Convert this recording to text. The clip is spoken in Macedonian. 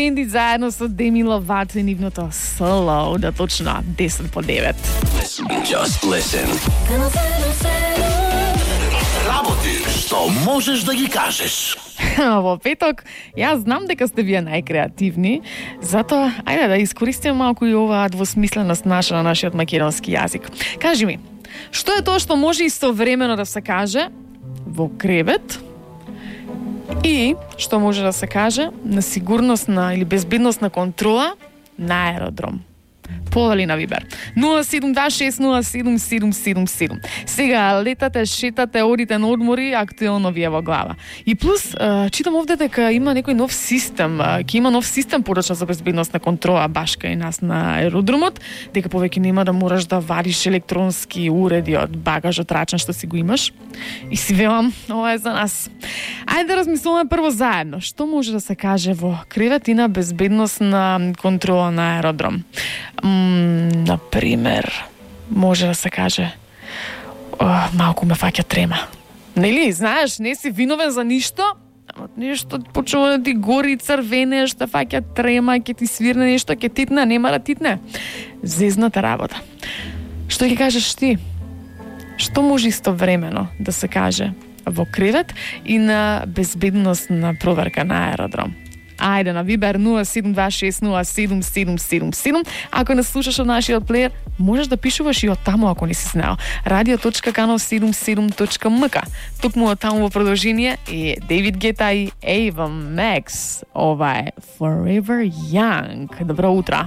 Бендит заедно со Деми Ловато и нивното соло, да точно 10 по 9. Just listen. Работи што можеш да ги кажеш. Во петок, јас знам дека сте вие најкреативни, затоа ајде да искористиме малку и оваа двосмисленост наша на нашиот македонски јазик. Кажи ми, што е тоа што може истовремено да се каже во кревет и што може да се каже на сигурносна или безбедносна контрола на аеродром? Подали на Вибер 072607777. Сега летате, шетате, одите на одмори, актуелно ви е во глава. И плюс, читам овде дека има некој нов систем, ќе има нов систем порачна за безбедносна контрола баш кај нас на аеродромот, дека повеќе нема да мораш да вадиш електронски уреди од багажот рачен што си го имаш. И си велам, ова е за нас. Ајде да размислуваме прво заедно. Што може да се каже во кревет и на безбедносна контрола на аеродром? Например, може да се каже малку ме фаќа трема. Нели, знаеш, не си виновен за ништо, ама нешто почува да ти гори, црвене, што фаќа трема, ќе ти свирне нешто, ќе титне, нема да титне. Зезната работа. Што ќе кажеш ти? Што може истовремено да се каже во кревет и на безбедносна проверка на аеродром? Ајде на Вибер 072607777. Ако не слушаш од нашиот плеер, можеш да пишуваш и од таму ако не си знаел. radio.kanal77.mk. Токму од таму во продолжение е David Guetta и Ava Max. Ова е Forever Young. Добро утро.